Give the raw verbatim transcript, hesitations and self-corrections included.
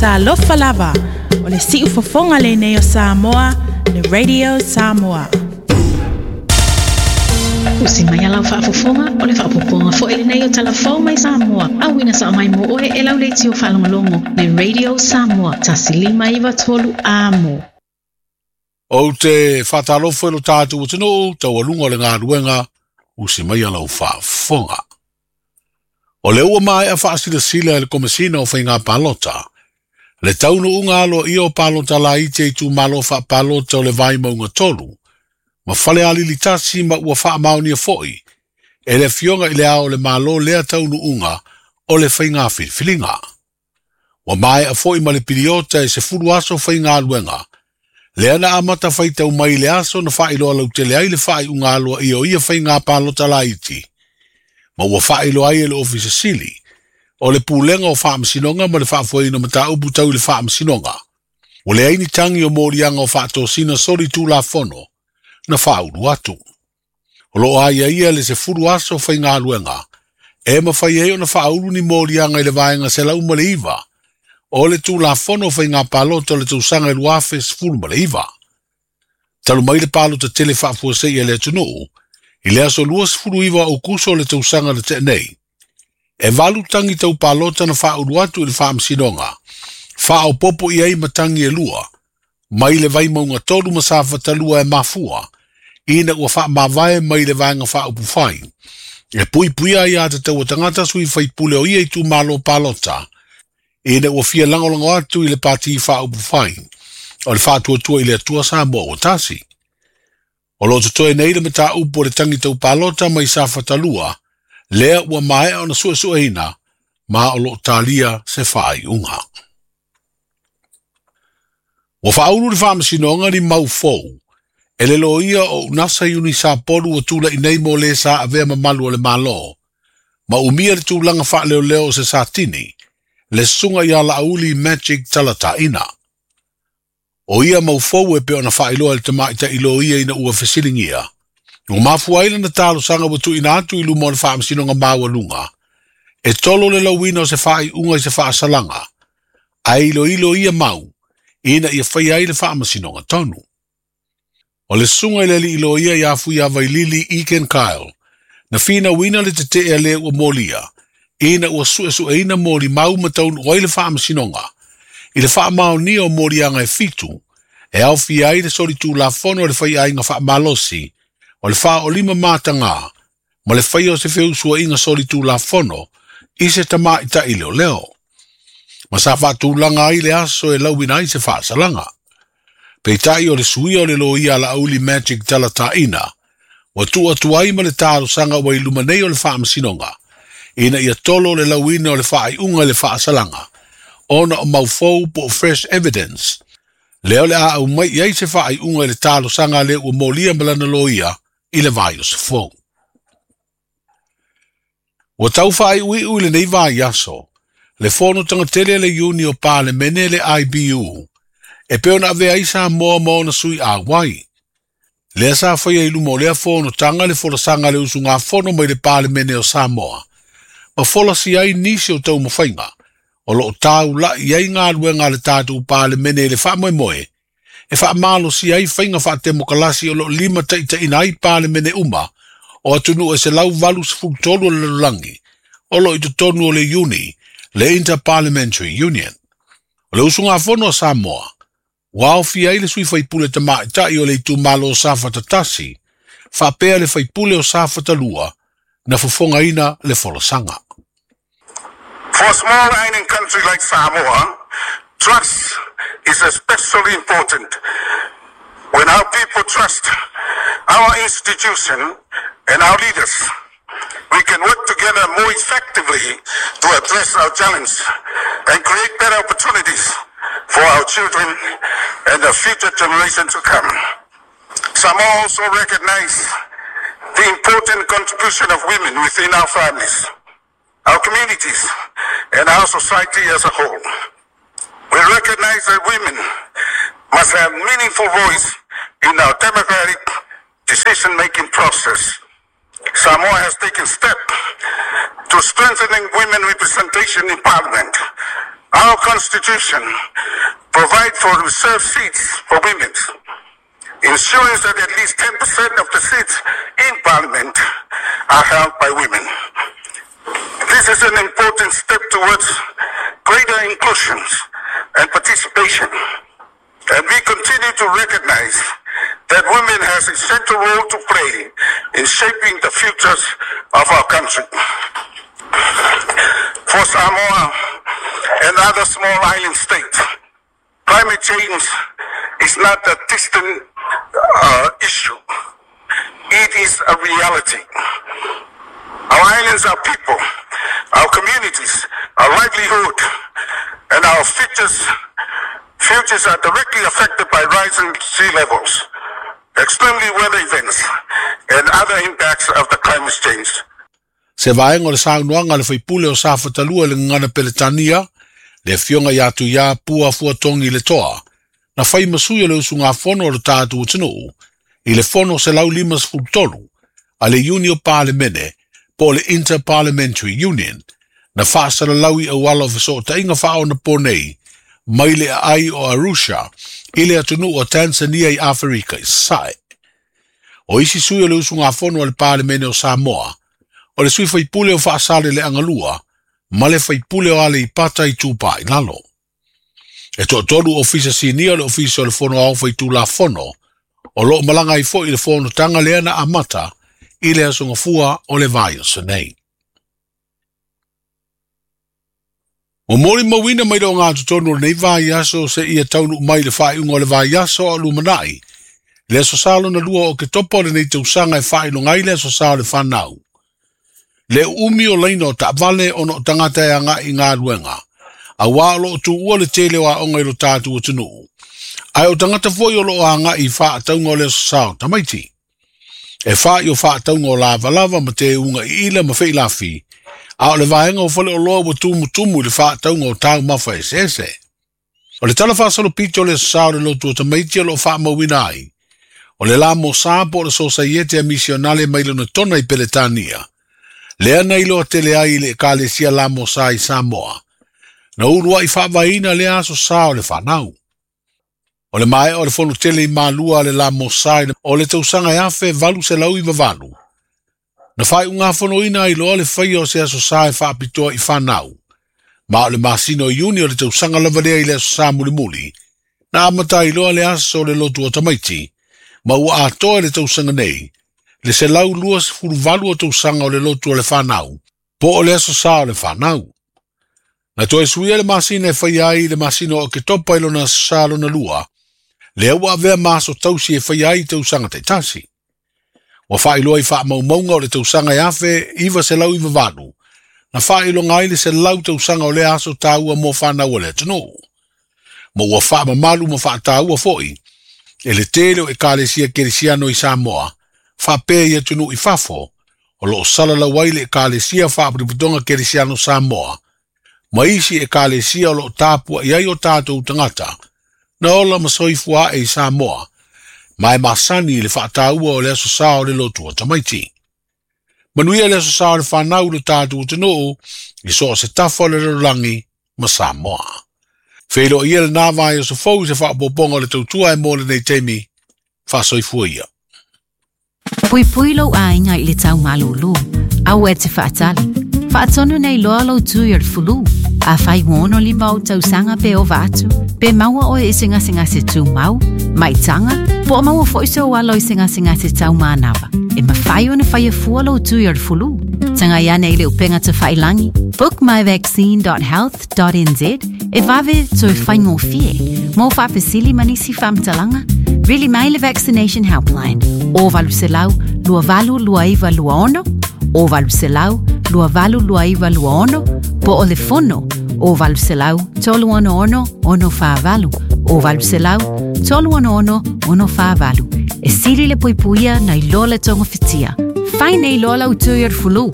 Talofa lava, o le siufofoga lenei o Samoa, le Radio Samoa. Usi mai a lau faafofoga o le faaopoopoga foi lenei o Talafou mai Samoa. Auina sao mai mo oe e lau leitio faalogologo le Radio Samoa tasi lima iva tolu amo. Ou te faatalofa i lo tatou atunuu taualuga o le galuega usi mai a lau faafofoga. O le ua maea faasilasila e le Komesina o Faiga Palota, le taunuuga aloaia o palota laiti e itumalo faapalota o le Vaimauga tolu, ma Falealili tasi ma ua faamaonia foi e le Afioga i le Ao o le Malo lea taunuuga o le faiga filifiliga. Ua maea foi ma le piliota e sefulu aso faigaluega, lea na amata faitau mai le aso na faailoa lautele ai le faaiuga aloaia o ia faiga palota laiti, ma ua faailoa ai e le Ofisa Sili o le Pulega o Faamasinoga ma le Faafoeina o Mataupu tau i le Faamasinoga. Ua leai ni tagi o moliaga o faatosina soli tulafono na faaulu atu. O loo aiaia le sefulu aso faigaluega e mafai ai ona faaulu ni moliaga i le vaega selau ma le iva o le tulafono o faiga palota o le tausaga e lua afe sefulu ma le iva. Talu mai le palota tele faafuasei a le atunuu i le aso lua sefulu iva o Aokuso o le tausaga na tea nei. E valu tangi tau palota na faaulu atu i le faamasinoga, faaopopo i ai ma tangi e lua, mai le Vaimauga tolu ma Safatalua e mafua, ina ua faamavae mai le vaega faaupufai, e puipuia ai aiatatau a tagata sui faipule o ia itumalo palota, ina ua fia lagolago atu i le pati faaupufai, o le faatuatua i le Atua Samoa ua tasi. O lo totoe nei le mataupu o le tangi tau palota mai Safatalua, lea ua maea ona suesueina, ma o loo talia se faaiuga. Ua faaulu le faamasinoga ni mau fou, e le loia o Unasa Iuni Sapolu ua tula'i nei mo le sa avea mamalu o le Malo, ma umia le tulaga faaleoleo o se satini, le susuga ia Laauli Magic Talataina. O ia mau fou e pei ona faailoa e le tamaita'i loia ina ua fesiligia. Ua mafua ai lana talosaga ua tuuina atu i luma o le faamasinoga maualuga, e tolo le lauina o se faaiuga i se faasalaga, ae iloilo ia mau, ina ia faia ai le faamasinoga tonu. O le susuga i le alii loia ia Fuiavailili Egan Kyle, na finauina le tetee a le ua molia, ina ua suesueina molimau ma taunuu ai le faamasinoga, i le faamaonia o moliaga e fitu, e aofia ai le solitulafono o le faiaiga faamalosi, o le faaolima matagā, ma le faia o se feusuaiga solitulafono i se tamaita'i leoleo. Ma sa faatulaga ai le aso e lauina ai se faasalaga. Peitai o le suia o le loia a Laauli Magic Talataina, ua tuu atu ai ma le talosaga ua i luma nei o le faamasinoga, ina ia tolo le lauina o le faaiuga i le faasalaga, ona o mau fou po o fresh evidence, lea o le a aumai i ai se faaiuga i le talosaga a le ua molia ma lana loia i le vaiaso fou. Ua tau faaiuiu i lenei vaiaso, le fonotaga tele a le Iuni o Palemene le I B U, e pei ona avea ai Samoa ma ona sui auai. Lea sa faia i luma o lea fonotaga le folasaga a le usugafono mai le Palemene o Samoa, ma folasi ai nisi o taumafaiga, o loo taula'i ai galuega a le tatou Palemene i le faamoemoe, e faamalosia ai faiga faatemokalasi o loo lima taitaina ai Palemene uma o atunuu e selau valu sefulu tolu o le lalolagi, o loo i totonu o le Iuni, le Interparliamentary Union. O le usugafono a Samoa, ua aofia ai le sui faipule tamaita'i o le itumalo o Safatatasi, faapea le faipule o Safatalua, na fofogaina le folasaga. For a small island country like Samoa, trust is especially important. When our people trust our institution and our leaders, we can work together more effectively to address our challenge and create better opportunities for our children and the future generation to come. Samoa also recognize the important contribution of women within our families, our communities, and our society as a whole. We recognize that women must have meaningful voice in our democratic decision-making process. Samoa has taken steps to strengthening women representation in Parliament. Our constitution provides for reserved seats for women, ensuring that at least ten percent of the seats in parliament are held by women. This is an important step towards greater inclusion and participation, and we continue to recognize that women has a central role to play in shaping the futures of our country. For Samoa and other small island states, climate change is not a distant uh, issue. It is a reality. Our islands, our people, our communities, our livelihood, and our futures, futures are directly affected by rising sea levels, extremely weather events, and other impacts of the climate change. Se vaenga o le saunoaga le faipule o Safatalua i le gagana Peletania, le afioga ia Tuia Pua Fuatogi le Toa, na fai masui o le usugafono o le tatou atunuu, i le fono selau lima sefulu tolu, a le Iuni o Palemene, po o le Inter-Parliamentary Union, na faasalalau i auala o fesootaiga faaonapo nei, mai le aai o Arusha, i le atunuu o Tanzania i Aferika i Sasae. O isi sui o le usugafono a le Palemene o Samoa, o le sui faipule o Faasale le Agalua, ma le faipule o Aleipata Itupa i Lalo. E toatolu ofisa sinia o le ofisa o le fono ao faitulafono, o loo malaga ai foi i le fonotaga lea na amata i le aso gafua o le vaiaso nei. Ua molimauina mai le ogatotonu o lenei vaiaso seia taunuu mai le faaiuga o le vaiaso a lumanai, le aso sa lona lua o Oketopa o lenei tausaga e faailoga ai le aso sa o le fanau. Le uumi o laina o taavale ona o tagata e agai i galuega, auā o loo tuua le tele o aoga i lo tatou atunuu, ae o tagata foi o loo agai i faatauga o le aso sa o tamaiti. E fai o faatauga o lavalava ma teuga iila ma feilafi, a o le vaega o faleoloa ua tumutumu i le faatauga o taumafa eseese. O le tala faasalopito o le aso sa o le lotu o tamaiti o loo faamauina ai, o le la mo sa po o le sosaiete a misionale mai lona tona i Peletania, lea na iloa tele ai i le ekalesia la mo sa i Samoa, na uluai faavaeina lea aso sa o le fanau. O le maea o le fono tele i Malua a le la mo sa o le tausaga e afe valu selau iva valu, na faaiugafonoina ai loa le faia o se aso sa e faapitoa i fanau, ma o le masina o Iuni o le tausaga lava lea i le aso sa mulimuli, na amata ai loa le aso o le lotu o tamaiti, ma ua atoa i le tausaga nei, le selau lua sefulu valu o tausaga o le lotu o le fanau, po o le aso sa o le fanau. Na toe suia le masina e faia ai le masina o Oketopa i lona aso sa lona lua, lea ua avea ma aso tausi e faia ai tausaga taitasi. Ua faailoa i faamaumauga o le tausaga e afe iva selau iva valu, na faailoga ai le selau tausaga o lea aso taua mo fanau o le atunuu. Ma ua faamamalu ma faataua foi, e le tele o ekalesia kerisiano i Samoa, faapea i atunuu i fafo, o loo salalau ai le ekalesia faaputuputoga kerisiano Samoa, ma isi ekalesia o loo tapuai ai o tatou tagata, na ola ma soifua ae i Samoa, ma e masani i le faataua o le aso sa o le lotu o tamaiti. Manuia le aso sa o le fanau i lo tatou atunuu, i so o se tafa o le lalolagi ma Samoa. Feiloai ia lenā vaiaso fou i se faaopoopoga o le tautua e mo lenei taimi, faasoifua ia. Puipui lou aiga i le tau malūlū. Aua e te faatali. Faatonu nei loa lou tui o le fulu. Afai ua ono lima ou tausaga pe ova atu, pe maua oe i se gasegase tumau, maitaga, po o maua foi sou alo i se gasegase taumanava, e mafai ona faia fua lou tui o le fulu. Tagai ane i le upega tafailagi book my vaccine dot health dot n z e vave toe faigofie. Mo faafesili ma nisi faamatalaga, vili mai le Vaccination Helpline o valu selau lua valu lua iva lua ono, o valu selau lua valu lua iva lua ono, po o le fono o valu selau tolu ono ono ono whaavalu, o valu selau tolu ono ono ono whaavalu. E sili le puipuia nei loa le tonga fitia. Fai nei loa lau tui o le fulu.